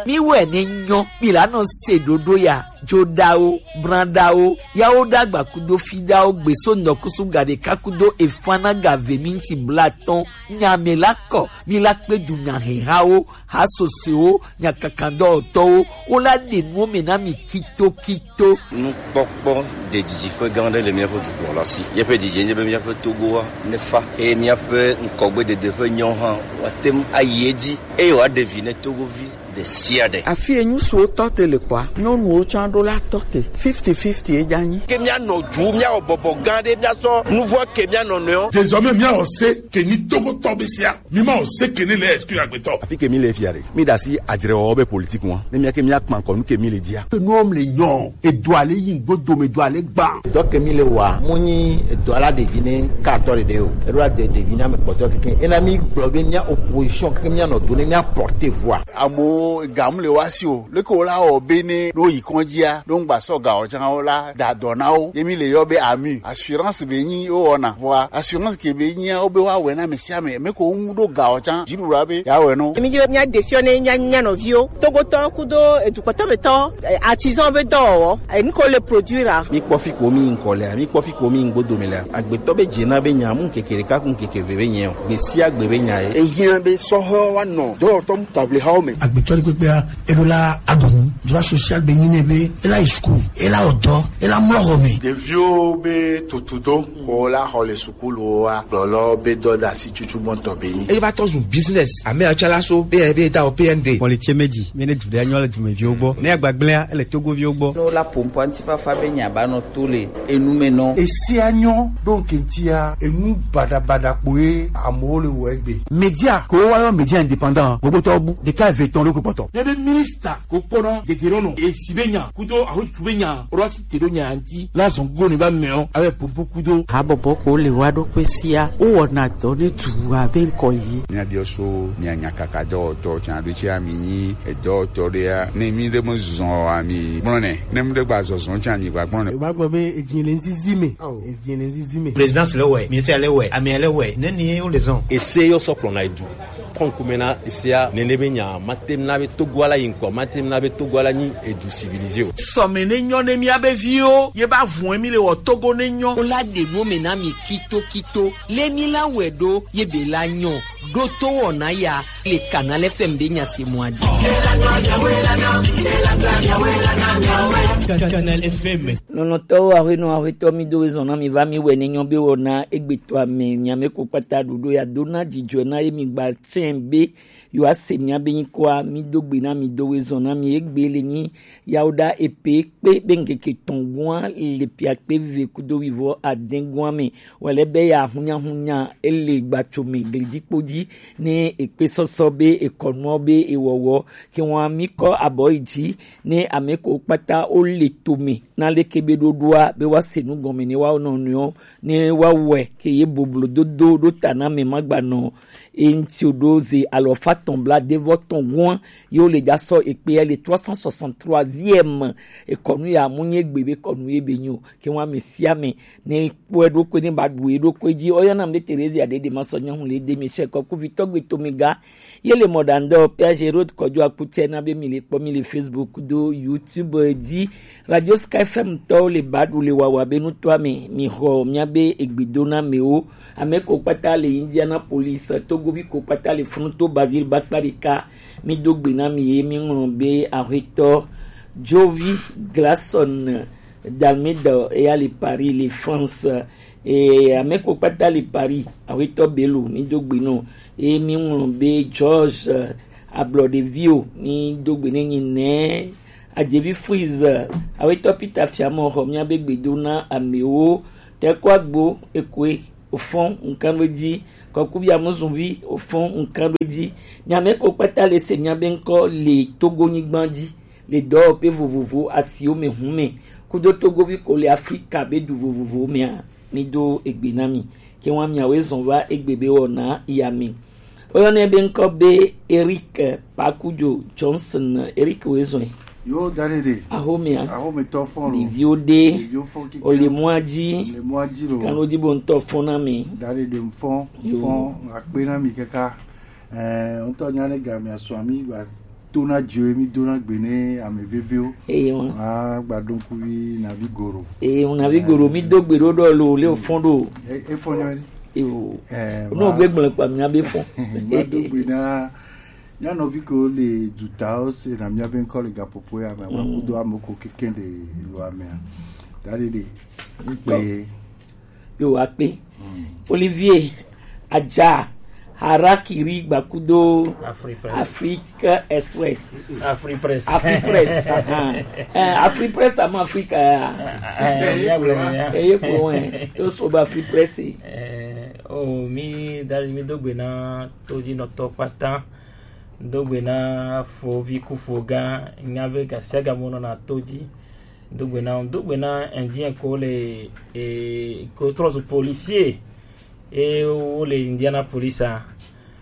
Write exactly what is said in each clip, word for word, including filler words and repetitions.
Mi wɛ ne nyɔ, mi la nɔ se ɖoɖo ya, joɖawo, branɖawo, yawo ɖagba kudo fiɖawo, gbeso nɔkusu gaɖeka kudo efanaga ve minti blatɔn, nya mɛ la kɔ, mi la kpe du nya hɛhawo, ha sosewo, nya kakandɔwɔtɔwo, wo la ɖe nuwo mɛ na mi kito kito. Nukpɔkpɔ ɖe didiƒe gã aɖe le míaƒe dukplɔla si. Míaƒe didi nye be míaƒe Togoa nefa eye míaƒe ŋkɔgbedede ƒe nyawo hã woate ŋu ayi edzi eye wòaɖe vi ne Togovi ɖe sia ɖe. Afi enyu suwo tɔ te le kɔa, nyɔnuwo tsã ɖo la tɔ te. Fifty fifty edza nyi. Ke míanɔ du, míawɔ bɔbɔ gã ɖe, míasɔ nuvɔ ke míanɔ nɔewo. Désormais, míawɔ se ke nyi Togotɔ be sia. Mi ma o se ke ne le exclu agbetɔ. Afi ke mi le fia ɖe. Mi ɖe asi adzrewɔwɔ be politique ŋua. Ne mía ke mía kpa kɔ nu ke mi le dzia. Ke nuwo le nyɔ. Edoa le yi ŋgbo dome, edoa le gba. Dɔ ke mi le wa, mu nyi edoa la ɖevi ne ka tɔ ɖeɖe o. Eɖo la de ɖevi na me kpɔtɔ keke. Ena mi gblɔ be mía opposition keke mía nɔ do ne mía porter voix. Amewo ga mu le wa si o. Leke wo la wɔ be ne ɖo yi kɔndzia, ɖo ŋgba sɔ ga o tsã wo la da dɔ na wo. Ye mi le yɔ be ami. Assurance be nyi wo wɔna. Vɔa assurance ke be nyia wo be wa wɛ na ame sia ame. Ame ko ŋu ɖo ga o tsã. Dziɖuɖua be ya wɛ no. Mi dzo mía ɖe fiɔ ne mía, mía nɔviwo. Togotɔ kudo edukpɔtɔ be tɔ, eh, artisan be dɔwɔwɔ. Eh, nu ko le produire a. Mi kpɔ fi ko mi ŋkɔ lea, mi kpɔ fi ko mi ŋgbo dome lea. Agbetɔ be dze na be nya mu ŋkeke ɖeka ku ŋkeke ve be nyɛ o. Gbe sia gbe be nya ye. Ehiã be sɔhɔ wa nɔ dɔwɔtɔ mu table hawo me. Agbetɔ ɖe kpekpea, eɖo la aɖu nu. Droit social be nyi nɛ be, ela yi school, ela wɔ dɔ, ela mlɔ xɔ me. Ɖeviwo be tutudo, ko la xɔ le sukuluwoa, gblɔlɔ be dɔdasi tutu gbɔntɔ be nyi. Eye va tɔ zu business, ame atsalaso, be, be da o P N D. Kpɔli tse meji, mi ne du ɖe anyɔ le dumeviwo gbɔ. Ne agbagblẽa, ele Togoviwo gbɔ. No la pompo antifafa be nya ba nɔ to le enu me nɔ. Esia nyɔ ɖo ŋkɛntia, enu baɖabaɖa kpoe amewo le wɔ egbe. Média, ko wa yɔ média indépendant, gbogbo tɔ bu, ɖeka eve tɔn ɖo kpɔtɔ. Ne be ministre ko kpɔna geɖe ɖo nɔ, esi be nya, kudo ahotu be nya, ro ati te ɖo nya ŋti, la zɔn gogo ne ba mɛ o, awɛ pompo kudo. Habɔbɔ ko le wa ɖo kpe sia, wo wɔna dɔ ne du abe ŋkɔ yi. Mía biɔ so, mía nya kaka dɔwɔtɔ, tsan ɖo tsi ami nyi, edɔwɔtɔ ɖe ya, ne mi ɖe me zɔn ami, gblɔ nɛ, ne mi ɖe gba zɔzɔn tsan mi gba gblɔ nɛ. Ba gbɔ be edzi le nzizi me. Edzi le nzizi me. Présidence le wɛ, ministère le wɛ, amea le wɛ, ne ni wo le zɔn. Ese yɔ sɔ kplɔna edu. Kɔnkume na esea, nene be nya, ma tem na be Togo ala yi ŋkɔ, ma tem na be Togo ala nyi edu civilisé o. Sɔme ne nyɔ ne mía be viwo, ye ba vun mi le wɔ Togo ne nyɔ. Wo la ɖe nu me na mi kito kito, le mi la wɛ ɖo, ye be la nyɔ, ɖo to wɔna ya, le Canal F M be nya se mɔ adi. Canal F M. Lɔlɔ̃tɔwo, aƒenɔ, aƒetɔ, mi do ɣezɔn na mi va mi wɛ ne nyɔ be wɔna egbetɔ ame, mi ame ko kpata ɖoɖo ya do na dzidzɔe na ye mi gba tsɛn be yewoase mía be nyikɔa, mi do gbe na mi do ɣezɔn na mi egbe le nyi yawoɖa epe kpe be ŋkeke etɔn gua le piakpe vive kudo wivɔ adɛn gua me wɛlɛ be ya hunyahunya ele gbatso me glidikpo dzi ne ekpe sɔsɔ be ekɔnuɔ be ewɔwɔ ke wa mi kɔ abɔ yi dzi ne ame ko kpata wo le to me na leke be ɖoɖoa be woase nu gɔme ne woawo nɔnɔewo ne woawɔe ke ye boblo dodo ɖo ta na ame ma gba nɔ eŋti o ɖo ze alɔfa tɔn bla devɔ tɔn gua ye wo le dza sɔ ekpea le trois cent soixante-troisième ekɔnu ya mu nye gbe be kɔnu ye be nyo ke wa ame sia ame ne kpɔe ɖokui ne ba ɖu ye ɖokui dzi. Oyɔna mi ɖe Theresia ɖe ɖe ma sɔ nyɔnu le de mi sɛ kɔ kuvitɔ gbe to mi ga Ye le mɔ ɖa ŋdɔ P H Road kɔdzo akutɛ na be mi le kpɔ mi le Facebook do YouTube dzi. Radio Sky F M tɔwo le ba ɖu le wawa be nutɔa me. Mi xɔ mia be egbedo na mewo. Ame ko kpata le Indianapolis, Togovi ko kpata le Fronto Basile bakpa ɖeka. Mi do gbe na mi ye mi ŋlɔ be aƒetɔ Jovi Glason Dalmeida eya le Paris le France. E, ame ko kpata le Paris, aƒetɔ Bello, mi do gbe nɔ. E, mi ŋlɔ be George, eh, Ablɔɖevio, mi do gbe ne nyi nɛ. Adzevi Freeze, eh, aƒetɔ Peter Fiamɔ xɔ mia be gbe do na amewo. Tɛkɔ agbo, ekoe, ofɔn, nkan be dzi. Kɔkubi amuzunvi, ofɔn, nkan be dzi. Mi ame ko kpata le se mia be ŋkɔ le Togo nyigba dzi. Le dɔwɔƒe vovovowo, asiwo me, hu me, kudo Togovi ko le Afrika be du vovovowo mea, mi do egbe na mi. Ke wa miawoe zɔn va egbe be wɔna ya me. Woyɔnɛ be ŋkɔ be Eric Pakujo Johnson. Eric woe zɔn. Yo, dade de. Ahomea. Ahometɔ fɔn lo. Ɖeviwo ɖe. Ɖeviwo fɔn kike. Ole mɔa dzi. Ole mɔa dzi lo. Kano dzi bo ŋutɔ fɔn na mi. Dade de fɔn. Yo. Fɔn akpe na mi kaka. Eh, ŋutɔ nya ne gamea sɔ mi ba. to na dzo ye mi do na gbe ne ame veviwo. Eye ŋu. A gba do ŋkuvi Navi Goro. Eye ŋu Navi Goro mi do gbe ɖo ɖɔ lo le fɔn ɖo. E e fɔn nyɔ ɖe. Ewo. Eh, No ma- gbe gblẽ kpa mi abe fɔn. Ma do gbe na mía nɔvi ko le dutawo se na mía be ŋkɔ le gaƒoƒo ya me. Ma kudo ame ko keke de lo amea. Da ɖe ɖe. Kpe. Yo akpe. Olivier Adja Harakiri Gbakudo Afrique Presse. Afrique Express. Afrique Presse. Afrique Presse. Ah. Eh, Afrique Presse ama Afrique. Eh, eh, ya gblɔ ya. Eh, ye ko wen. Yo so ba Afrique Presse. Eh, oh, mi dali mi dogbe na todzi nɔtɔ kpata. Dogbe na fovi ku fogã. Nya be gasiaga mo nɔ na todzi. Do gbe na, do gbe na Indien ko le, e, ko trɔ zu policier. E, wo le Indianapolis a.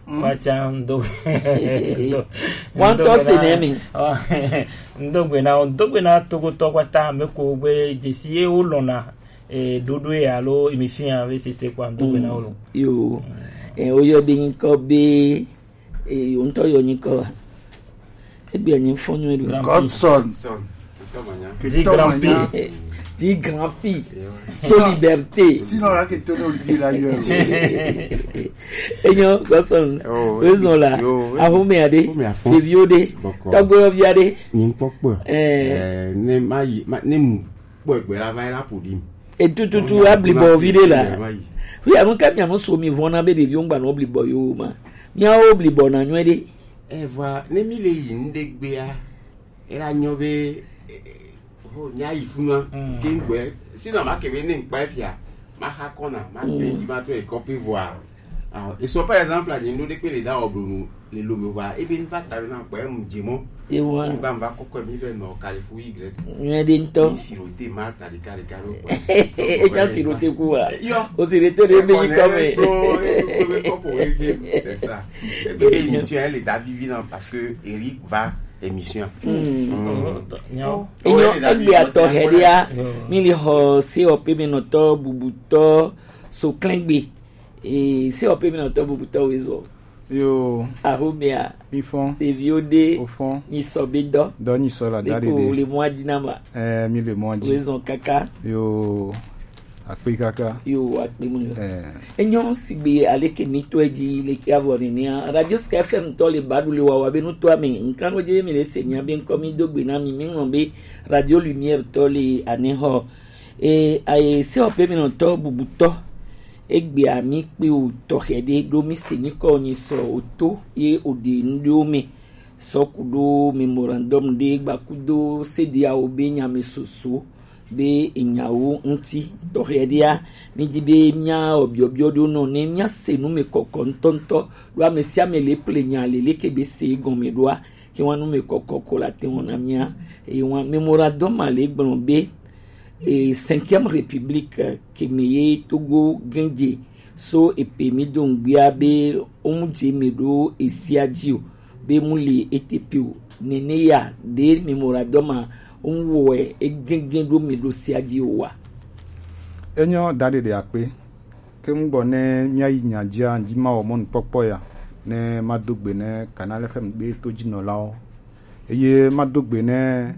Wa tsa ŋdo. Ŋdo gbe na, ŋdo gbe na, ŋdo gbe na Togotɔ kpata, ame ko gbe dzesi ye wo lɔna, e, ɖoɖo ye alo émission ya ve sese kpɔ, ŋdo gbe na wo lo. Yo. E, wo yɔ de ŋkɔ be Ee, wo ŋutɔ yɔ nyikɔ wa. Egbe nyi fɔ nyuie ɖo. Godson. Di Grand P. Di Grand P. So liberté. Sinon la ke to no di la yɔ. Enyo Godson. Raison la. Ahome ade. Fevio de. Tɔgbe via de. Nyi kpɔkpɔ. Eh. Ne ma yi, ne mu kpɔkpɔ la va la pour dire. Etututu ablibɔ vi ɖe la. Fi anu ka mia mu so mi vɔna be ɖeviwo ŋgba nɔ blibɔ yo ma. Miawo blibɔ na nyuie ɖe. Evɔa ne mi le yi ŋɖe gbea, ela nyɔ be ho mia yi funa ke ŋgbɛ. Sina ma ke be ne ŋkpa fia ma xa kɔna ma pe ŋti ma trɔ ekɔ pe vɔa. Ah, et so par exemple, ni ndo de pe le da obunu le lo me va e be va ta na pa mu je mo. Ewa. Ni va va koko mi be no kale fu y. Nyuie ɖe ŋutɔ. Ni sirote ma ta de kale kale. E ja sirote ku wa. Yo. O sirote de be yi kɔ me. C'est ça. Et puis émission elle est à vivi non parce que Eric va émission. Enyo egbe atɔ hɛdia mi li xɔ se ɔpe mi nɔtɔ bubutɔ so klɛngbe. Ee, se ɔpe mi nɔtɔ bubutɔ wezɔ. Yo. Ahomea. Mi fɔn. Ɖeviwo ɖe. O fɔn. Mi sɔ be dɔ. Dɔ nyi sɔ la da de de. Ɖeko le mɔ adzi na ma. Ɛɛ, mi le mɔ adzi. Wezɔ kaka. Yo. Akpe kaka. Yo, akpe mu yo. Ɛɛ. Enyo sigbe aleke mi tɔ edzi le ke avɔ nenea. Radio Sky F M tɔ le baɖu le wawa be nutɔ ame. Nkan wo dze mi le se mia be ŋkɔ mi do gbe na mi mi ŋlɔ be Radio Lumière tɔ le anexɔ. E, aye se ɔpe mi nɔtɔ bubutɔ. Egbea mi kpe o tɔxɛ ɖe ɖo mi se nyikɔ nyi sɔ o to ye o ɖe nu ɖewo me. Sɔ kuɖo memorandum ɖe gbakudo C D A O be nya me soso be enyawo ŋuti tɔxɛ ɖea mi di be mia obiɔbiɔ ɖewo nɔ ne mia se nu me kɔkɔ ŋutɔŋutɔ ɖo ame sia ame le ple nya le leke be se gɔme ɖoa ke wa nu me kɔkɔ ko la te wɔna mia. Eye wa memorandum ma le gblɔ be e, cinquième république, eh, ke me ye Togo gɛnje so epe mi do ŋgbia be omu dze me ɖo esia dzi o be mu li ete pe o. Nene ya ɖe memorandum ma omu wɔ egɛngɛn ɖo me ɖo sia dzi o wa. Enyo da ɖe ɖe akpe. Ke ŋgbɔ ne mia yi nya dzia, ŋdi ma wɔ mɔnukpɔkpɔ ya, ne ma do gbe ne Canal F M be to dzi nɔlawo. Eye ma do gbe ne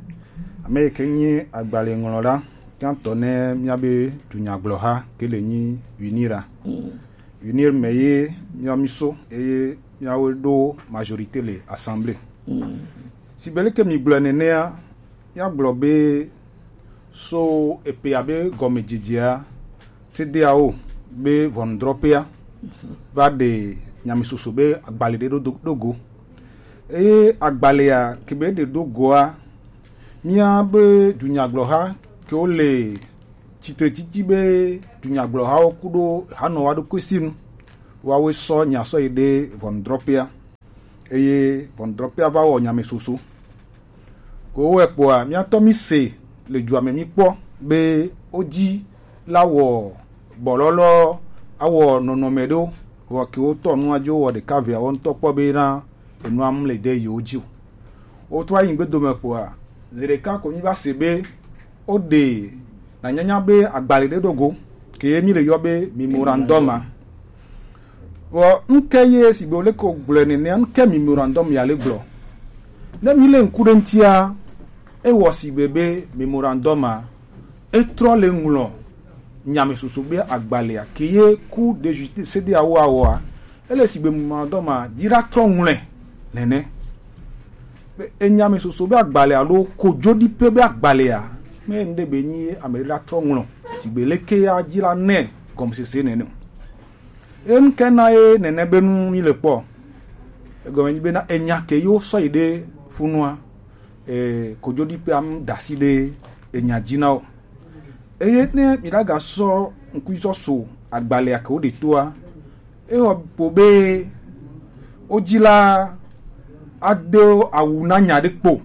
ame yi ke nyi agbalẽ ŋlɔla gãtɔ ne mia be dunyagblɔha ke le nyi UNIRA. UNIR me ye mia mi so eye miawo ɖo majorité le assemblée. Sigbe leke mi gblɔe nenea, mia gblɔ be so epe abe gɔmedzedzea, C D A O be ʋɔnudrɔƒea va ɖe nyamesɔsɔ be agbalẽ ɖe ɖo do- ɖo go. Eye agbalẽa ke be ɖe ɖo goa, mía be dunyagblɔha kewo le tsitretsitsi be dunyagblɔhawo kuɖo hanɔwa ɖokui si nu, woawoe sɔ nya sɔ yi ɖe ʋɔnudrɔƒea. Eye ʋɔnudrɔƒea va wɔ nyamesɔsɔ. Ko wɛ kpɔa, míatɔ mi se le dua me mi kpɔ be wodzi la wɔ bɔlɔlɔ awɔ nɔnɔme ɖewo, vɔ ke wotɔ nua dzo wɔ ɖeka vea wo ŋutɔ kpɔ be na enua mu le de yewo dzi o. Wotrɔ yi ŋgbedo me kpɔa, zi ɖeka ko mi va se be woɖe na nyanya be agbalẽ ɖe ɖo go, ke ye mi le yɔ be memorandum a. Vɔ nuke ye sigbe wo le ko gblɔe nenea, nuke memorandum ya le gblɔ? Ne mi le ŋku ɖe ŋutia, ewɔ sigbe be memorandum a, etrɔ le ŋlɔ nyame soso be agbalea ke ye ku de justice C D A O awɔa, ele sigbe memorandum a dzi ɖa trɔ ŋlɔe nene. Be enyame soso be agbalea alo kojoɖipe be agbalea, me ŋɖe be nyi ame ɖe la trɔ ŋlɔ sigbe leke ya dzi la nɛ gɔmesese nene o. Enu ke na ye nene be nu mi le kpɔ. Egɔme nyi bena enya ke yewo sɔ yi ɖe funua, e, kojoɖiƒea mu da asi ɖe enya dzi na wo. Eye ne mi ɖe aga sɔ ŋku sɔ so agbalea ke wo ɖe toa, ewɔ po be wo dzi la ado awu na nya ɖe kpo.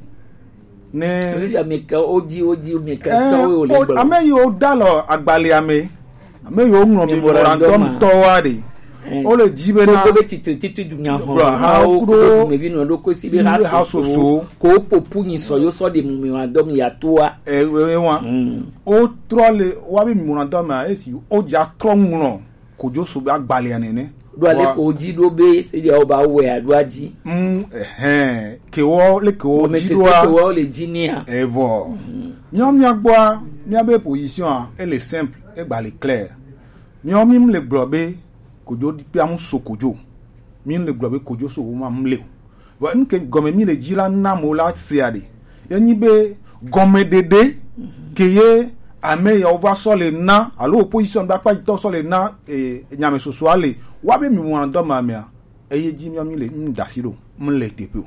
Ne Ame ke wo dzi, wo dzi, ame ke Eh, tɔwo wo le o- gblɔ. Ame yiwo da lɔ agbalea me, ame yiwo ŋlɔ Memorandum memorandum a. Tɔwoa ɖe, Eh. Wo le dzi be na Gbogbo be titri titri dunya Gblɔ ha hɔn kudo kudo dumevi nɔ ɖo kosi be ha ha soso. Soso. Ko popu nyi sɔ yo sɔ de memorandum ya toa. Eh, we- we- wa. Mm. Wo trɔ le wa be memorandum a esi wo dza trɔ ŋlɔ kojoso be agbalea nene. Ɖo ale Wa- ko dzi ɖo be se dia wo ba wɛ aɖo adzi. Mm, ehɛn, ke wo le ke wo Ame dzi sese ɖoa. Ke wo le dzi nia. Evɔ. Míawo míagbɔa, míabe position a, ele simple, egba le clair. Míawo mí le gblɔ be kojoɖiƒea mu so kojo. Mí le gblɔ be kojoso wo ma mu le o. Vɔ nu ke gɔme mí le dzi la na mo la sea ɖe. Ye nyi be gɔmeɖeɖe ke ye ame yawo va sɔ le na, alo opposition be akpa yitɔ sɔ le na, eh, nyame sosoa le. Wa be mi wɔna dɔ ma mea, eye dzi mi mi le, mi da asi ɖo, mi le teƒe o.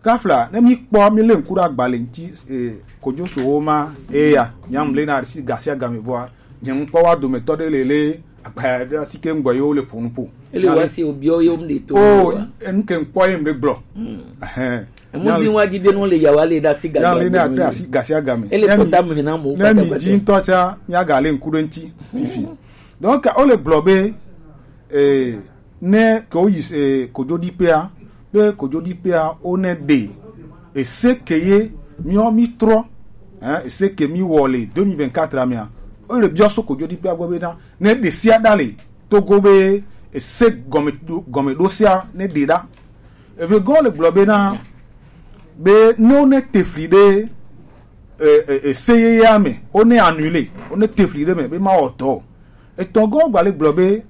Kafla, ne mi kpɔ, mi le ŋku ɖe agbalẽ ŋuti, eh, kojosowo ma, eya, nyam le na asi gasi agame vɔa, nye ŋkpɔ wa dometɔ ɖe le le, agba ɖe asi ke ŋgbɔ yewo le ƒo nu ƒo. Ele wa si obiɔ ye wo de to. Oh, wa. Enu ke ŋkpɔ ye ŋɖe gblɔ. Hmm. Ehɛn. Emu zi wa di be nu le yawa le ɖe asi gasi agame. Ele kpɔta me na mo. Ne mi dzi ŋutɔ tsa, mi aga le ŋku ɖe ŋuti, fifi. Donc, wo le gblɔ be, eh, ne ke woyi, eh, kojoɖiƒea, be kojoɖiƒea wo ne ɖe ese ke ye miɔ mi trɔ, hein, ese ke mi wɔ le deux mille vingt-quatre a mea, wo le biɔ so kojoɖiƒea gbɔ be na ne ɖe sia ɖa le Togo be ese gɔme ɖo, gɔme ɖo sia ne ɖe ɖa. Eve gɔ le gblɔ be na be ne wo ne te fli ɖe, eh, eh, eh, ese yeyea me, wo ne annule, wo ne te fli ɖe me be ma wɔ dɔ o. Etɔ̃ gɔ gba le gblɔ be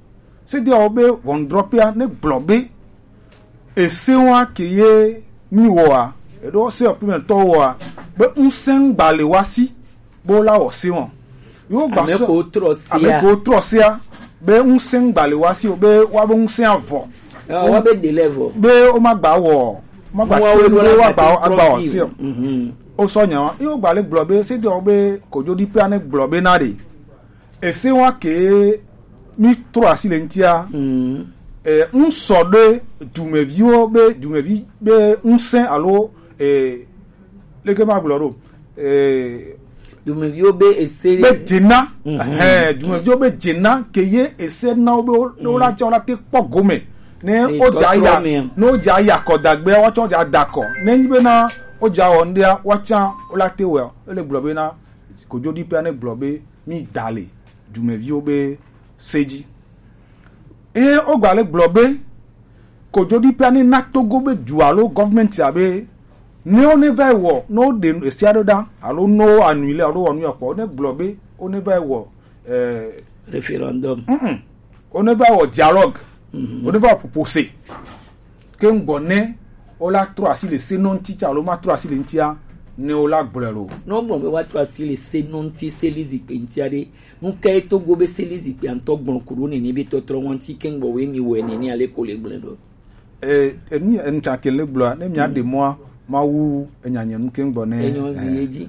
Sediawo be ʋɔnudrɔ̃ƒea ne gblɔ be, ese wa ke ye mi wɔa, eɖo se ɔpimɛtɔ wɔa, be ŋusẽ gba le wa si, be wo la wɔ se wɔn. Yo gba Ame sɔ, ko trɔ sia. Ame ko trɔ sia, be ŋusẽ gba le wa si o, be wa be ŋusẽ avɔ. Ɔ, wa be de le vɔ. Be wo ma gba wɔ, ma gba Mo wa te wo be la wa gba, ma te agba trɔ wɔ si se o. Mhm. O sɔ nya wa, yo gba le gblɔ be, sediawo be kojoɖiƒea ne gblɔ be na ɖe. Ese wa ke mi trɔ asi le ŋutia. Mm. Eh, ŋsɔ ɖe dumeviwo be, dumevi be ŋusẽ alo, eh, leke ma gblɔ ɖo. Eh, Dumeviwo be ese. Be dzena. Mhm. Eh, dumeviwo be dzena ke ye ese na wo be wo, wo la tsɔ la te kpɔ gome. Ne Eye wo dza tɔtrɔ ya, mea. Ne wo dza ya kɔ dagbe, wa tsɔ dza da kɔ. Ne nyi be na wo dza wɔ ŋɖea, wa tsã wo la te wɔ. Ele gblɔ be na kojoɖiƒea ne gblɔ be mi da le dumeviwo be se dzi. Eye wogba le gblɔ be, kojoɖiƒea ne na Togo be du alo gɔvmɛntia be, ne wo ne va yi wɔ, ne wo ɖe esia ɖo ɖa, alo ne wo annule alo wɔ nu ya kpɔ, ne gblɔ be, wo ne va yi wɔ, eh, Référendum. Mm-mm. Wo ne va yi wɔ dialogue. Mhm. Wo ne va yi wɔ ƒoƒo se. Ke ŋgbɔ ne wo la trɔ asi le se nɔ ŋuti tsa alo ma trɔ asi le ŋutia, ne wo la gblɔe lo. Ne wogblɔ be woatrɔ asi le se nɔ ŋuti, se li zikpui ŋutia ɖe, nu kae Togo be se li zikpuia ŋutɔ gblɔ ku ɖo nene be tɔtrɔ ŋuti ke ŋgbɔ woe mi wɔe nene ale ko le gblɔe ɖo? E, enu, enu tsa ke le gblɔa, ne mia ɖe mɔa, Mawu enya nye nu ke ŋgbɔ ne. Enyo vi ye dzi.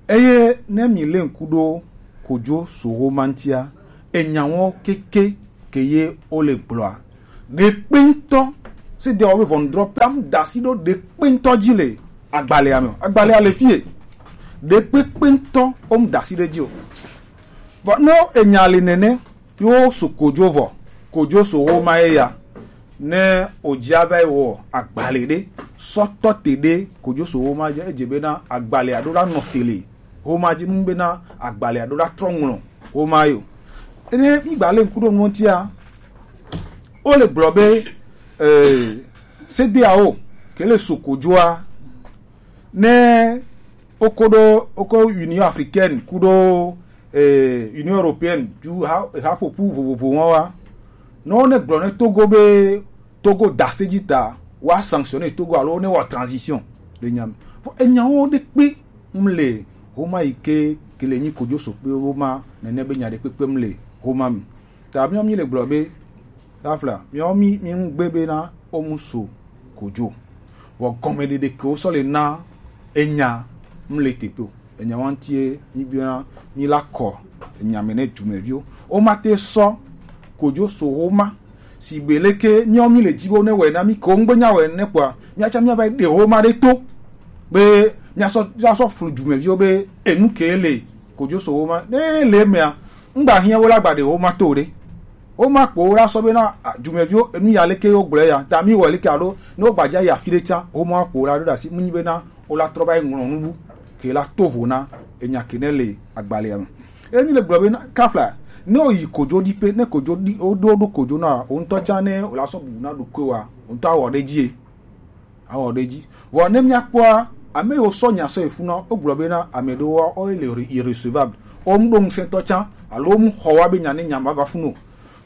Eye ne mi le ŋku ɖo kojo soho ma ŋutia, enyawo keke ke ye wo le gblɔa. Ɖekpe ŋutɔ, se de wo be ʋɔnudrɔ̃ƒea mu da asi ɖo ɖekpe ŋutɔ dzi le agbalẽa me o. Agbalẽa le fie. Ɖekpekpe ŋutɔ wo mu da asi ɖe dzi o. Vɔ ne enya le nene, ye wo so kojo vɔ, kojo soho ma ye ya. Ne wòdzi ava yi wɔ agbalẽ ɖe, sɔ tɔ te ɖe kojo soho ma dzi, edze bena agbalẽa ɖo la nɔ te le homa dzi nu bena agbalẽa ɖo la trɔ ŋlɔ homa yo. Ene mi gba le ŋku ɖo nu ŋutia, wo le gblɔ be, eh, sedeawo ke le so kojoa, Ne oko ɖo oko Union Africaine kuɖo eh, Union Européenne ju ha haƒoƒu vovovo wɔn wa. Ne wo ne gblɔ ne Togo be Togo da se dzi ta, wa sanctionner Togo alo ne wa transition le nya me. Fo enyawo ɖe kpe ŋu le homa yi ke ke le nyi kojo so kpe homa nene be nya ɖe kpekpe ŋu le homa me. Ta miɔ mi le gblɔ be Tafla, miawo mi mi ŋu gbe bena wo mu so kojo. Vɔ gɔmeɖeɖe ke wo sɔ le na enya ŋu le teƒe o. Enya wa ŋutie mi biɔna mi la kɔ enya me ne dumeviwo. Wo ma te sɔ kojo so wo ma. Sigbe leke miawo mi le dzi be wo ne wɛ na mi ke wo ŋgbe nya wɛ ne kpɔa, miatsa miava yi ɖe wo ma ɖe to be miasɔ miasɔ flu dumeviwo be enu ke le kojo so wo ma. Ne le emea, ŋgba hiã wo la gba ɖe wo ma to ɖe. Wo ma kpo wo la sɔ bena, ah, dumeviwo, enu ya leke wo gblɔ ya, ta mi wɔ leke alo ne wo gba dza yi afi ɖe tsã, wo ma kpo wo la ɖo ɖe asi, mu nyi bena wo la trɔ va yi ŋlɔ nu bu ke la to vo na enya ke ne le agbalea me. Emi le gblɔ bena kafla ne wo yi kojo ɖi pe, ne kojo ɖi wo ɖo ɖo kojo na wo ŋutɔ tsã ne wo la sɔ bu na ɖokui wa, wo ŋutɔ awɔ ɖe dzi ye. Awɔ ɖe dzi. Vɔ ne míakpɔa, ame yiwo sɔ nya sɔ yi funu, wogblɔ bena ame ɖewoa, wo le irre- irrecevable. Wo ŋɖo ŋusẽtɔ tsã, alo wo mu xɔ wa be nya ne nya ma va funu o.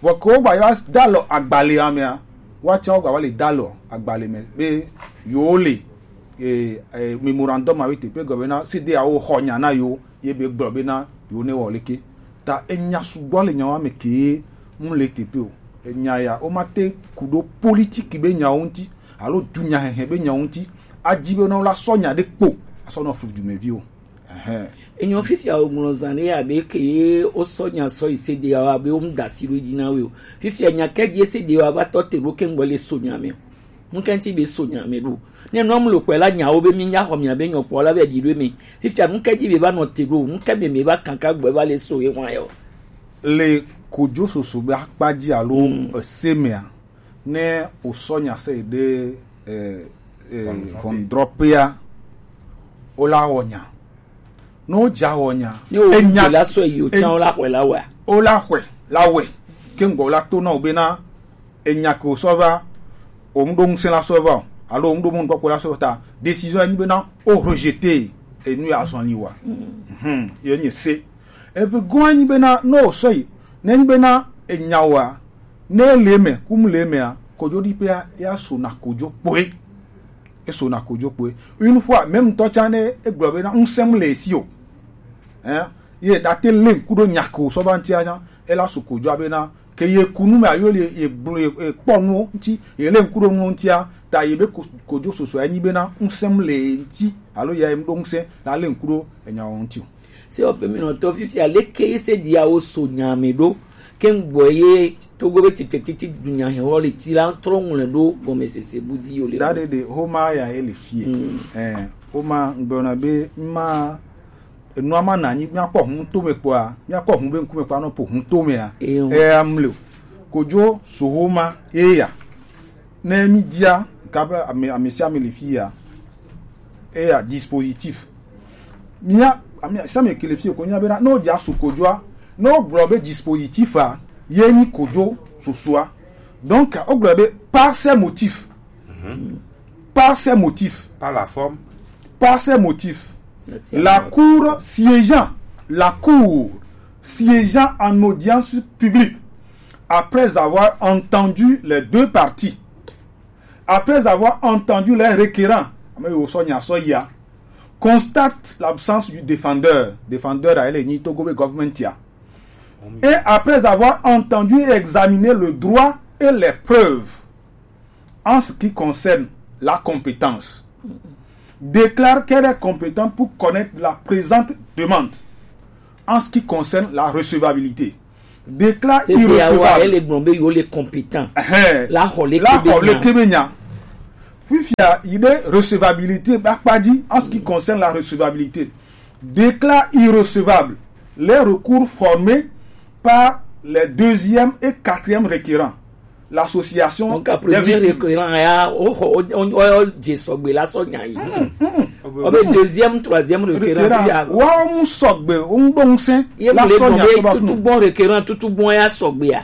Vɔ ke wogba va dalɔ agbalẽa mea, woatsã wogba va le dalɔ agbalẽ me be yewo le eh, eh, memorandum awo teƒe gɔme na C D A wo xɔ nya na yewo ye be gblɔ bena yewo ne wɔ leke. Ta enya sugbɔ le nyawo me ke mu le teƒe o. Enya ya wo ma te ku ɖo politiki be nyawo ŋuti alo dunyahehe be nyawo ŋuti. Adi be na wo la sɔ nya ɖe kpo asɔ nɔ flu dumevi o. Ɛhɛn. Enyo fifia wo ŋlɔ zan ɖe abe ke ye wo sɔ nya sɔ yi C D A wo abe wo mu da si ɖo dzi na wo o. Fifia nya ke dzi C D A wo va tɔ te ɖo ke ŋgbɔ le so nya me o. Ŋkɛnti be so nya me ɖo. Ne nɔ mu lo kpɛ la nyawo be mi nya xɔ mia be nyɔ kpɔ la be ɖi ɖo me. Fifia ŋkɛ dzi be va nɔ te ɖo. Ŋkɛ me me va kanka gbɛ va le so ye wa yɔ. Le kojo soso be akpa dzi alo mm. Ese mea, ne o sɔ nya se ɖe eh, eh, vɔndrɔpea, o la wɔ nya. Ne wodza wɔ nya, ne wodze la sɔ yi o tsã wola xɔe la wɔa? Wola xɔe la wɔe. Ke ŋgɔ wola to na wo bena enya ke wosɔ va, wo ŋɖo ŋusẽ la sɔ va o, alo wo ŋɖo mɔnukpɔkpɔ la sɔ va ta, décision enyi bena wo rejeter enu ya azɔli wa. Mhm, ye nye se. Eve gɔn enyi bena ne wosɔ yi, ne enyi bena enya wa, ne le eme, kum le emea, kojo ɖiƒea ya sona kojo kpoe. Esona kojo kpoe. Une fois, même ŋutɔ tsã ne egblɔ bena ŋusẽm le esi o. Hein? Ye date le ŋku ɖo nya ko sɔ va ŋutia tsã, ela su kojoa bena ke ye ku nu me ayo le ye gblɔ ye kpɔ nu ŋuti, ye le ŋku ɖo nu ŋutia, ta ye be ko- kojo soso enyi bena ŋusẽm le ŋuti alo ya ye ŋɖo ŋusẽ la le ŋku ɖo enya wo ŋuti o. Se woƒe minɔtɔ fifia leke ye se ɖiawo so nya me ɖo ke ŋgbɔ ye togo be titsetiti dunya hewɔ le ti la trɔ ŋlɛ ɖo gɔmesese bu dzi yo le. Da ɖe ɖe homa ya ye le fie. Mm. Eh, homa ŋgbe na be ma enua ma na anyi míakpɔ hu to me kpɔa, míakpɔ hu be ŋkume kpɔa nɔ po hu to mea. Eya mle o. Kojo so homa ye ya. Ne mi dia ka be ame ame sia ame le fie ya. Eya dispositif. Mia ami sami ke le fie ko nya bena no dia su kojoa, no gblɔ be dispositif a ye ni kojo susua. Donc o gblɔ be par ces motifs, par ces motifs, par la forme, par ces motifs, la cour siégeant, la cour siégeant en audience publique, après avoir entendu les deux parties, après avoir entendu les requérants, ame yiwo sɔ nya sɔ yia, constate l'absence du défendeur. Défendeur a ele nyi togo be government ya. Et après avoir entendu et examiné le droit et les preuves en ce qui concerne la compétence, déclare qu'elle est compétente pour connaître la présente demande en ce qui concerne la recevabilité. Déclare irrecevable. Ele gblɔ be yo le compétent. Ɛhɛn. La xɔ le kebe nya. Fifia yi ɖe recevabilité ba kpa dzi en ce qui concerne la recevabilité. Déclare irrecevable les recours formés par les deuxième et quatrième requérants. L'association donc à premier requérant ya o o o o je sɔgbe la sɔ nya yi. O be deuxième, troisième requérant ya. Wa mu sɔgbe o ŋdo ŋsɛ. Ye la mu le sɔ nya sɔ ba tutu bon requérant, tutu bon ya sɔgbe ya.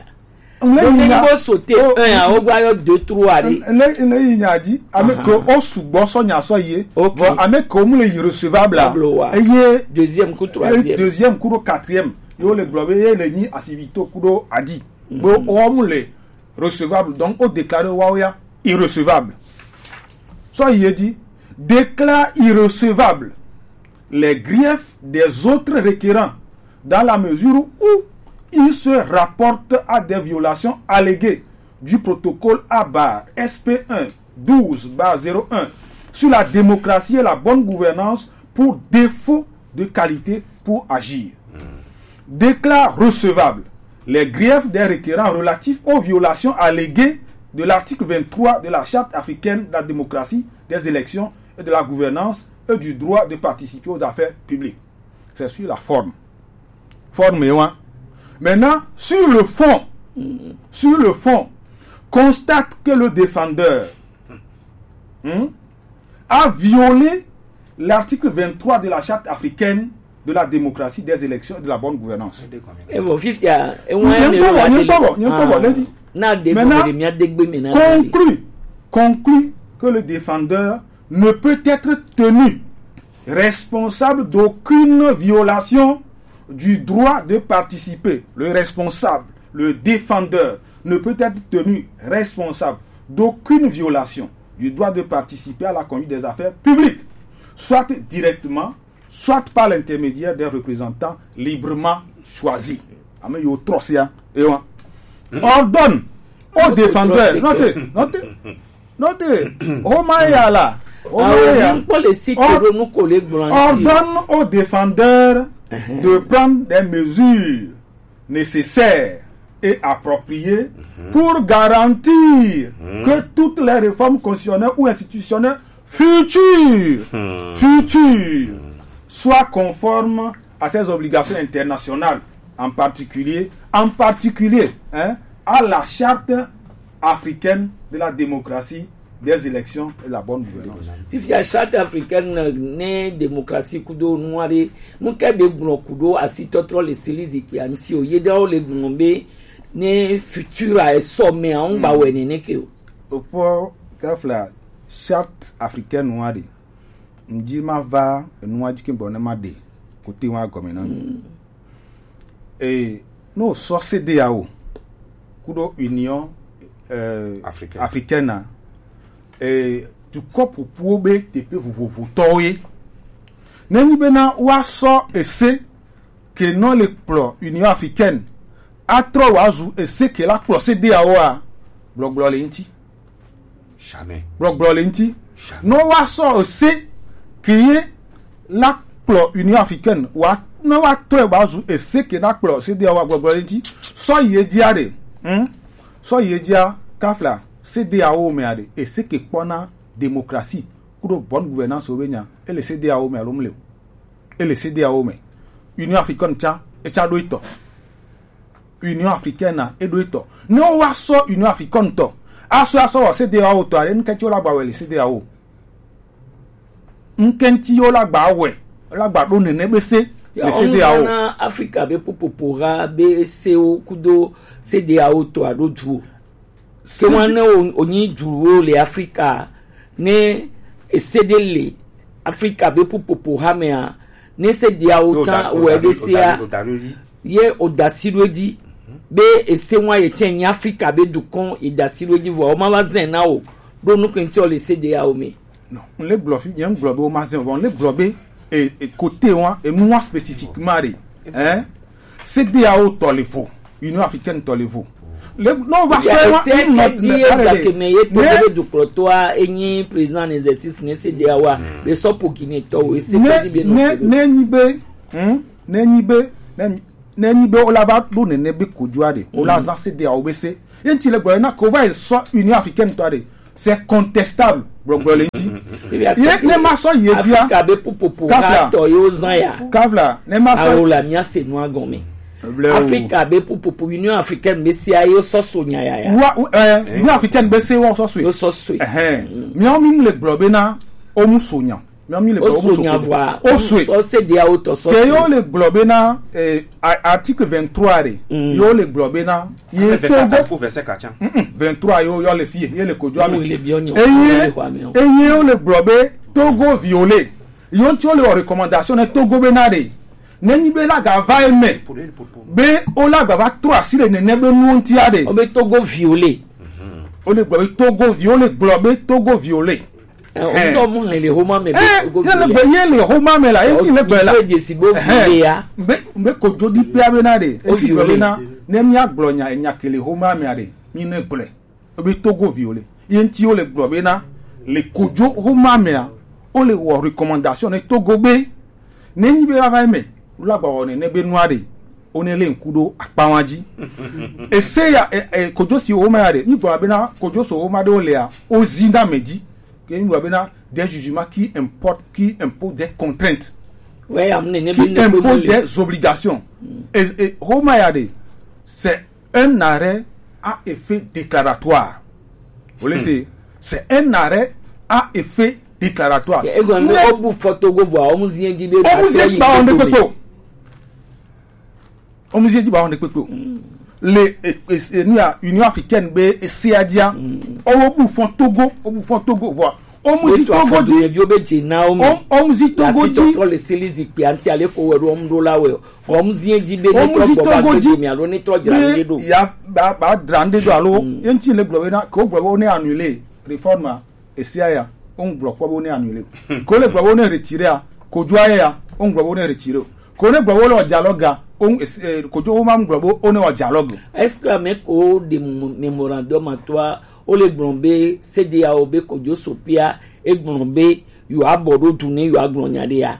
Ŋlɛ yi nya. Bo sauter un, a, o gba yɔ deux, trois ɖe. Ne, ne yi nya dzi, ame ke o sugbɔ sɔ nya sɔ ye. Ok. Vɔ ame ke o mu le irrecevable a. Tableau wa. Eye deuxième ku troisième. Deuxième ku ɖo quatrième. Yo le gblɔ be ye le nyi asivito ku ɖo adi. Bo o mu le recevable. Donc o déclarer wa o ya irrecevable. Sɔ yi ye dzi, déclare irrecevable les griefs des autres requérants dans la mesure où ils se rapportent à des violations alléguées du protocole à barre S P un douze barre zéro un sur la démocratie et la bonne gouvernance pour défaut de qualité pour agir. Déclare recevable les griefs des requérants relatifs aux violations alléguées de l'article vingt-trois de la Charte africaine de la démocratie, des élections et de la gouvernance et du droit de participer aux affaires publiques. C'est sur la forme. Forme, hein. Maintenant, sur le fond, sur le fond, constate que le défendeur, hmm, a violé l'article vingt-trois de la Charte africaine de la démocratie, des élections et de la bonne gouvernance. Evɔ fifia, ewa ne kpɔbɔ, ne kpɔbɔ, ne kpɔbɔ, ne di. Na de. Maintenant, conclut, conclut que le défendeur ne peut être tenu responsable d'aucune violation du droit de participer. Le responsable, le défendeur, ne peut être tenu responsable d'aucune violation du droit de participer à la conduite des affaires publiques, soit directement, soit par l'intermédiaire d'un représentant librement choisi. Ame yo trɔsia, ewa. Ordonne au défendeur. Notez, notez, notez. Homaya la. Homaya. Ordonne au défendeur de prendre des mesures nécessaires et appropriées pour garantir que toutes les réformes constitutionnelles ou institutionnelles futures, futures soient conformes à ses obligations internationales, en particulier, en particulier, hein, à la charte africaine de la démocratie, des élections et la bonne gouvernance. Fifia charte africaine ne démocratie kudo nuare, nu ke be gblɔ kudo asitɔtrɔ le sili zikpia ŋuti o. Ye ɖewo le gblɔ be ne futur a esɔ me a ŋgba wɛ nene ke o. Okpɔ kafla charte africaine wa de. Ŋdi ma va enua dzi ke gbɔ ne ma de kote wa gɔme na. E, no sɔ C D A O kudo Union, eh, africaine. Africaine a, eh, dukɔ ƒoƒuwo be teƒe vovovotɔwo ye. Nenyi bena woasɔ ese ke nɔ le kplɔ Union africaine atrɔ wòazu ese ke la kplɔ C D A O a, gbɔgblɔ le ŋuti. Jamais. Gbɔgblɔ le ŋuti. Jamais. Ne woasɔ ese ke ye la kplɔ Union africaine wa, ne woatɔe wòazu ese ke na kplɔ C D A O a, gbɔgblɔ le ŋuti. Sɔ yi edzia ɖe, hmm? Sɔ yi edzia kafla C D A O mea ɖe, ese ke kpɔna démocratie kudo bonne gouvernance wo be nya, ele C D A O me alo mle o. Ele C D A O me. Union africaine tsa, etsa ɖo etɔ. Union africaine a, eɖo etɔ. Ne woasɔ Union africaine tɔ, asɔ asɔ wɔ C D A O tɔ, ale ŋkɛntsi wo la gba wɛ le C D A O. Ŋkɛntsi wo la gba wɛ, la gba ɖo nene be se le C D A O. Na Afrika be ƒuƒoƒo ha be sewo kudo C D A O tɔ aɖo du o. Ke wan ne wonyi duwo le Afrika, ne ese ɖe le Afrika be ƒuƒoƒo hamea, ne se diawo tsã wɔ ɖe sea, ye o da si ɖo edzi be ese ŋua ye tsɛ nyi Afrika be dukɔn, ye da si ɖo edzi vɔ, o ma va zɛn na o ɖo nukun ti o le se diawo me. Non, n le gblɔ fi, nye n gblɔ be wo ma zɛn o, vɔ n le gblɔ be e, e, côté wa, e, nua spécifiquement ɖe, hein? C D A O tɔ le vo, Union africaine tɔ le vo. Le, non, va sɔ wa, ese ke di ye gake me ye to be dukplɔtɔa enyi président en exercice ne C D A O a, be sɔ po Guinée tɔ o, ese ke di be no. Ne nyi be, hmm? Ne nyi be, ne nyi be o la va ɖo nene be kojoa ɖe, o la zan C D A O be se. Ye ŋuti le gblɔ na ko va yi sɔ Union africaine tɔ ɖe. C'est contestable. Gbɔgblɔ le ŋuti. Ye ne ma sɔ ye dia. Afrika be ƒuƒoƒo ha tɔ ye wo zan ya. Kavla, ne ma sɔ. Awo la mia se nua gɔme. Afrika be ƒuƒoƒo, Union africaine be se ye sɔ so nya ya ya. Wa, eh, Union africaine be se wo sɔ so. Yo sɔ so. Ɛhɛn. Miawo mi le gblɔ be na o mu so nya. Miami le gblɔ wo so nya vɔa. O so. So se dia o to so. Ke yo le gblɔ be na, eh, a- article vingt-trois re. Yo le gblɔ be na ye Vingt-quatre Togo. Ko vingt-cinq attiens. Mm-mm, vingt-trois yo yo le fie, ye le kojo ame. Eye eye yo le gblɔ be Togo violé. Yo ntsi wo le wɔ recommandation ne Togo be na de. Ne nyi be la ga va eme. Be o la ga va trɔ asi le nene be nuwo ŋuti a de. O be Togo violé. O le gblɔ be Togo vi, o le gblɔ be Togo violé. Eh, o ŋutɔ mu hɛn le homa me be Togo violé. Ye le gbe ye le homa me la, eti le gbe la. O dzesi be o violé ya. Be be kojo di pe abe na de. Eti gbe be na. Ne mi agblɔ nya nya ke le homa me a de. Mi ne gblɔe. Ebe Togo violé. Ye ŋuti wo le gblɔ be na le kojo homa mea, wo le wɔ recommandation ne Togo be ne nyi be va va eme la gba wɔ nene be nua de, wo ne le ŋku ɖo akpawa dzi. Ese ya e, e, kojo si homa ya de, mi gblɔ be na kojo so homa de wo le ya, o zi na me dzi. Ke mi gblɔ be na des jugements qui importent, qui imposent des contraintes. Ouais, am ne ne qui imposent des obligations. Et, et homa ya de, c'est un arrêt à effet déclaratoire. Vous voyez, c'est, c'est un arrêt à effet déclaratoire. Ego ne o bu foto go vo o mu zi dzi be o mu zi dzi ba o ne pepe o. O mu zi dzi ba o ne pepe o. Le e, e, e, nu ya Union africaine be e se adia. O bu fo Togo, o bu fo Togo vo. O mu zi Togo dzi. Yo be dzi na o mu. O mu zi Togo dzi. Ko le sili zi pe anti ale ko we ro mu do la we. Hɔm zie dzi be ne trɔ gbɔ va gbe dome alo ne trɔ dzra ŋɖe ɖo. Ya ba ba dzra ŋɖe ɖo alo ye ŋuti le gblɔ be na ke wogblɔ be wo ne annulé réforme esia ya, wo ŋgblɔ kpɔ be wo ne annulé o. Ke wole gblɔ be wo ne retiré a, kojoa ya, wo ŋgblɔ be wo ne retiré o. Ke wo ne gblɔ be wole wɔ dialogue a, wo ŋ- esi- eh, kojo wo ma ŋgblɔ be wo ne wɔ dialogue o. Est-ce que ame ko de mo- mémorandum atɔa wole gblɔ be C D A O be kojo sopia e gblɔ be yewoabɔ ɖo du ne yewoagblɔ nya ɖe ya?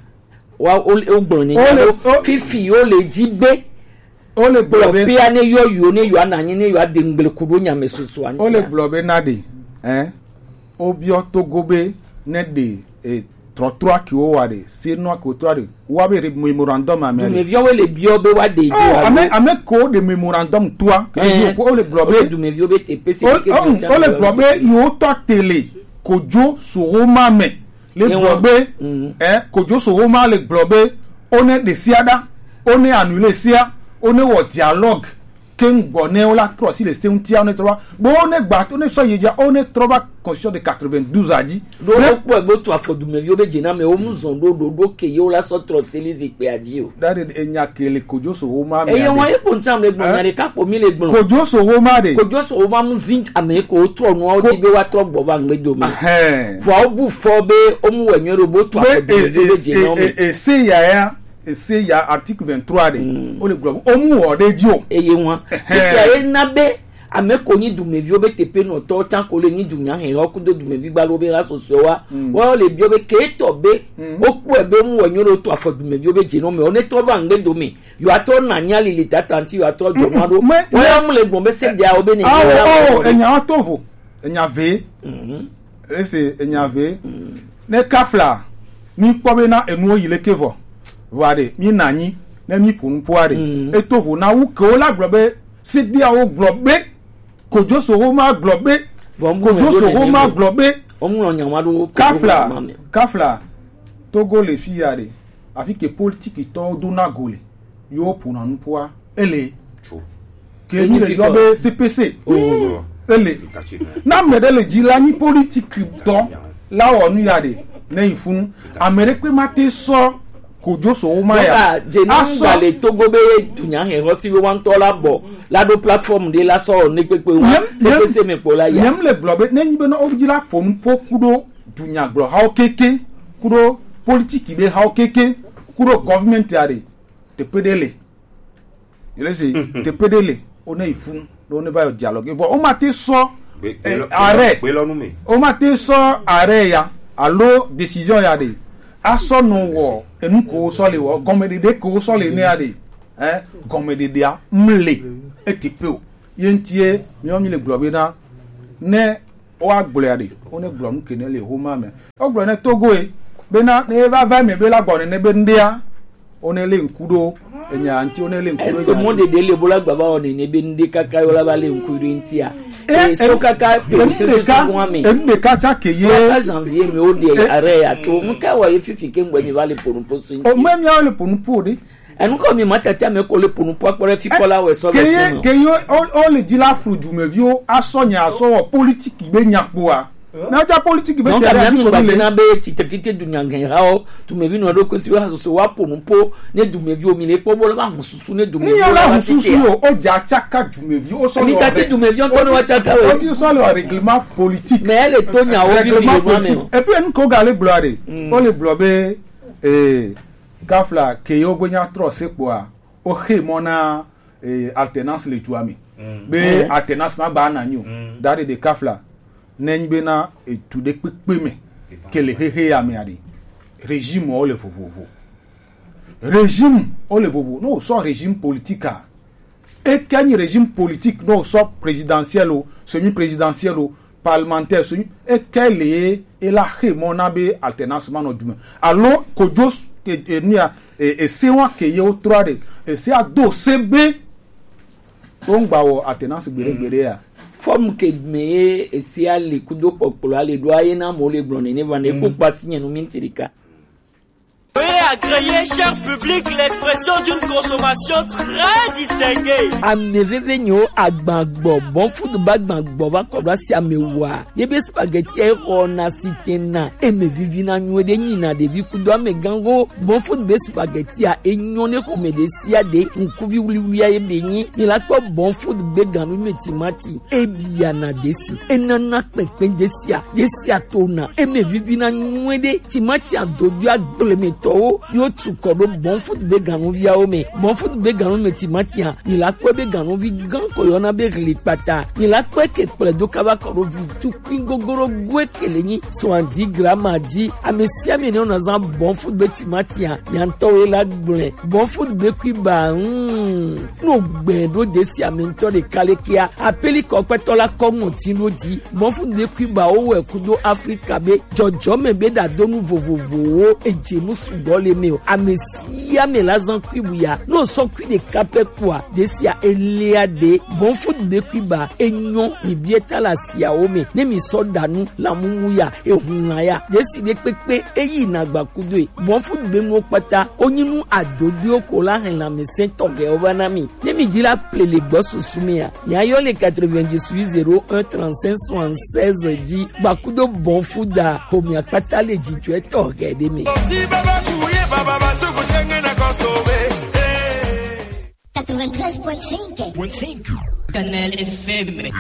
Wa wo wo gblɔ ne nya ɖo fifi wo le dzi be wo le gblɔ be pia ne yɔ yiwo ne yewoanɔ anyi ne yewoade ŋgble ku ɖo nya me susu anti. Wo le gblɔ be na ɖe, hein? Wo biɔ Togo be ne ɖe e trɔtrɔa ke wo wa ɖe, se nua ke wo trɔ ɖe, wa be re- mémorandum a me. Dumeviawo le biɔ be wa ɖe. Oh, ame ame ko de mémorandum toa ke wo le gblɔ be dumeviawo be te pese ke wo le gblɔ be yewo tɔ tele kojo so wo ma me. Le gblɔ be, eh, kojo so wo ma le gblɔ be, o ne ɖe sia ɖa, o ne annulé sia, o ne wɔ dialogue, ke ŋgbɔ ne wo la trɔ si le se ŋutia, o ne trɔ va, bo o ne gba, o ne sɔ yi dza, o ne trɔ va constitution de quatre-vingt-douze a dzi. Ɖo wo kpɔe be wotu afɔ dumeviwo be dzename wo mu zɔn ɖo ɖo ɖo ke ye wo la sɔ trɔ se li zikpea dzi o. Da ɖe enya ke le kojo so wo ma me. Eye wa ye kpo ŋuti ame gblɔ nya ɖeka kpo mi le gblɔ. Kojo so wo ma ɖe. Kojo so wo ma mu zi ame ko wo trɔ nua wo di be wa trɔ gbɔ va ŋgbe dome. Vɔa wobu fɔ be womu wɔ nyuie ɖo bo tu afɔ dumeviwo be dze na wo me. Ese ya ya, ese ya article vingt-trois ɖe. Wo le gblɔ be womu wɔ ɖe dzi o. Eye ŋua. Fifia ye na be ame ko nyi dumeviwo be teƒenɔtɔwo tsã ko le nyi dunya hɛhɔ kudo dumevi gbalo be ha sɔsɔe wa. Wo le biɔ be ke tɔ be wokpɔe be womu wɔ nyuie ɖo tu afɔ dumeviwo be dze na wo me. Wo ne trɔ va ŋgbe dome. Yewoa trɔ na nya lili tata ŋuti yewoa trɔ dzɔ nua ɖo. Woya mu le gbɔn be se dia wo be ne. Awo, enya to vo. Enya ve. Ese enya ve. Ne kafla, mi kpɔ be na enuwo yi leke vɔ. Vɔ aɖe, mi na anyi, ne mi ƒo nu ƒo aɖe. Eto vo na wu ke wo la gblɔ be, se dia wo gblɔ be, kojo so wo ma gblɔ be, kojo so wo ma gblɔ be. Kafla, kafla, Togo le fi ya ɖe, afi ke politiki tɔwo do na go le, yewo ƒona nu ƒoa, ele. Ke mi le yɔ be C P C. Ele. Na ame ɖe le dzi la nyi politiki tɔ la wɔ nu ya ɖe ne yi funu. Ame ɖe kpe ma te sɔ kojo so wo ma ya. Dze nu ga le Togo be dunya hɛhɔ si wo wa ŋutɔ la bɔ la ɖo plateforme ɖe la sɔ ne kpekpe wa C P C me kpɔ la ya. Nyem le gblɔ be ne nyi be na wo dzi la ƒo nu ƒo kuɖo dunyagblɔhawo keke, kuɖo politiki be hawo keke, kuɖo government ya ɖe, teƒe ɖe le. Yele se, teƒe ɖe le, wo ne yi funu, ɖo ne va yɔ dialogue. Vɔ, wo ma te sɔ, eh, arrêt. Wo ma te sɔ arrêt ya, alo décision ya ɖe. Asɔ nɔ wɔ, enu ko sɔ le wɔ, gɔmeɖeɖe ko sɔ le ne ya ɖe. Eh, gɔmeɖeɖea, mle, eti pe o. Ye ŋutie, miɔ mi le gblɔ be na, ne woagblɔe aɖe, wone gblɔ nu ke ne le homa me. Wogblɔ ne Togoe bena ne eva va eme be la gbɔ nene be ŋɖea, wone le ŋku ɖo Enya ŋuti wo ne le ŋku ɖo. Est-ce que mɔ ɖeɖe le bo la gba va wɔ nene be ŋɖe kaka yo la va le ŋku ɖo ŋutia? Eh, eh, so kaka eh, pe eh, ŋɖe ka, ŋku ame. Eh, ŋɖe ka tsa ke ye. So kaka janvier me wo ɖe eh, arrêt ya to. Ŋka wa ye fifi ke ŋgbe mi va le ponu po so ŋuti. O me mi le ponu po ɖe. Enu ko mi ma tati ame ko le ponu po akpɔ ɖe fi kɔ la wɛ sɔ ke be ye, se me. Ke yo o, o le dzi la flu dumeviwo asɔ nya asɔ wɔ politique be nya kpoa. Na ja politique be donc tɛrɛ ami ati ngba kɔmi le. Dina be titɛ titɛ dunya ŋgɛ ha o. Dumevi nɔ ɖo kosi be hasoso wa ponu po ne dumevi o mi le kpɔ bo le ba hun susu ne dumevi. Ni ya la hun susu o, o ja tsaka dumevi o sɔ. Mi tati dumevi o tɔ ne wa tsaka o. O di sɔ le règlement politique. Mais elle est tonya o vi mi le ma me o. Et puis en ko ga le gloire. O le gblɔ be eh kafla ke yo gbe nya trɔ se kpoa. O xe mɔ na eh, alternance le dua me. Be alternance ma ba na nyo. Dare de kafla. Ne nyi be na etu de kpekpe me. Ke le xexe ya me ade. Régime wo le vovovo. Régime wo le vovo. No so régime politique a. E ke nyi régime politique no so présidentiel o, semi-présidentiel o, parlementaire so nyi. E ke le e la xe mɔ na be alternance ma nɔ du me. Alo kojo e, e, nia e, e se wa ke ye wo trɔ de. E se a do se be wo ŋgba wɔ alternance gbeɖe gbeɖe ya. Forme ke me ye esia le kudo kpɔkplɔ ale ɖo aye na mo le gblɔ nene va ne ko kpasi nye nu mi ŋuti ɖeka. Veuillez agréer, cher public, l'expression d'une consommation très distinguée. Ame veve nyewo agbagbɔ, bon food ba gbagbɔ va kɔ ɖo asi ame wa. Ye be spaghetti e xɔ na si te na, e me vivi na nyuie ɖe nyi na ɖevi kudo ame gango. Bon food be spaghetti a e nyɔ ne xɔme ɖe sia ɖe, ŋkuvi wuliwulia ye be nyi. Mi la kpɔ bon food be ganu me timati. Ebiana desi, enana kpɛnkpɛn desia, desia tona, eme vivina nyuie ɖe. Timati adodo agblemetɔwo yo tu kɔ ɖo bon food be ganuviawo me. Bon food be ganu me timatia, mi la kpɔe be ganuvi gan ko yɔna be ɣli kpata. Mi la kpɔe ke kplɛ do kaba kɔ ɖo vi tukui gogoro goe ke le nyi soixante-dix grammes dzi. Ame sia ame ne wona zan bon food be timatia, nya ŋutɔ wo la gblɔe. Bon food be kui ba, hmm. No gbɛ ɖo desi ame ŋutɔ ɖeka le kia. Apeli kɔkpɛtɔ la kɔ ŋɔti ɖo dzi. Bon food be kui ba wo wɛ kudo Afrika be jɔjɔme be ɖadonu vovovowo edze nu sugbɔ le me o. Ame sia ame la zan kui bu ya. No sɔ kui ɖeka pɛ kua, desia elia ɖe. Bon food be kui ba enyɔ mi bie ta la siawo me. Ne mi sɔ ɖa nu la mumu ya, ehun la ya. Desi ɖe kpekpe eyi na gba kudo e. Bon food be nuwo kpata, wo nyi nu adodoewo ko la hɛn lanmɛsɛn tɔxɛwo va na mi. Ne mi di la ple le gbɔ susu mi a, mi ayɔ le quatre-vingt-dix-huit zéro un trente-cinq soixante-seize di gba kudo bon food a, ho mi akpata le dzidzɔe tɔxɛ ɖe me. Quatre-vingt-treize point cinq. Kanal F M.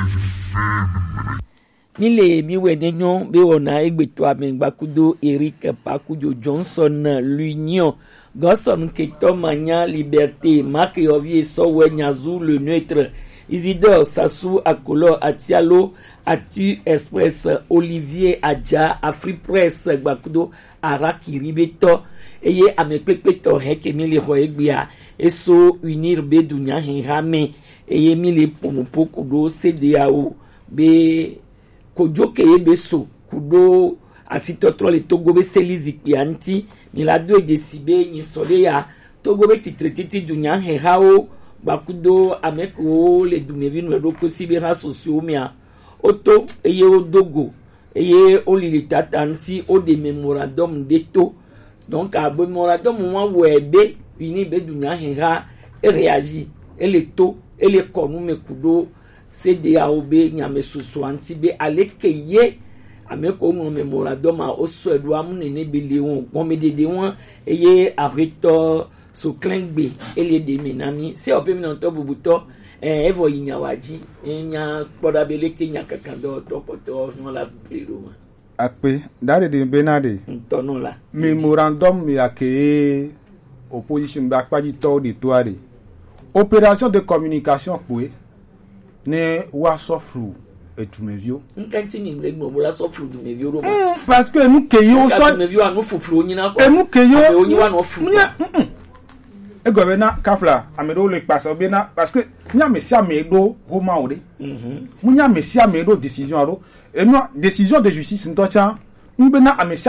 Mi le mi wɛ ne nyɔ be wɔna egbetɔ ame gba kudo Eric Pakujo Johnson l'Union Godson Ketɔ Manya Liberté Mark Yovi Esɔwɛ Nyazu le neutre Isidore Sassou Akolo Atialo Atu Express Olivier Adja Afri Press gba kudo Arakiri be tɔ eye ame kpekpe tɔ hɛ ke mi le xɔ egbea eso Unir be dunya hɛn ha me eye mi le ponu po kudo C D A O be kojo ke ye be so kudo asitɔtrɔ le Togo be seli zikpia ŋuti. Mi la do edze si be nyi sɔ ɖe ya Togo be titre titi dunya hɛhawo gbakudo ame kewo le dumevi nɔ ɖo kosi be ha sosoewo mea, woto eye wodo go eye wolili tata ŋuti woɖe memorandum ɖe to. Donc abe memorandum wa wɔe be Uni be dunya hɛha e réagir, ele to, ele kɔ nu me kudo C D A O be nyamɛsusua ŋuti be aleke ye ame ko ŋlɔ memorandum ma wosɔe ɖo amu nene be le wɔn gɔmeɖeɖe wɔn eye aƒetɔ Soklɛngbe ele ɖe me na mi. Se ɔpe mi nɔtɔ bubutɔ eh, evɔ yi nyawa dzi eh, nya kpɔ ɖa be leke nyakakadɔwɔtɔ kpɔtɔ nɔ la ble ɖo ma. Akpe, da ɖeɖe be na ɖe. Ŋutɔ nɔ la. Memorandum ya ke opposition be akpadzitɔwo ɖe to aɖe. Opération de communication kpoe ne woasɔ flu edumeviwo. Ŋkɛntsi mi le gbɔn bo la sɔ flu dumeviwo ɖo ma. Mm, parce que nu ke yo sɔ dumeviwo anu fuflu nyina kɔ. Enu ke yo amewo nyi wa nɔ flu. Nye, mm, mm. Egɔme be na kafla ame ɖewo le kpasɔ be na parce que nya ame sia ame ɖo homa o ɖe. Mhm. Mu nya ame sia ame ɖo décision aɖo. Enu décision de justice ŋutɔ tsã. Ŋgbe na ame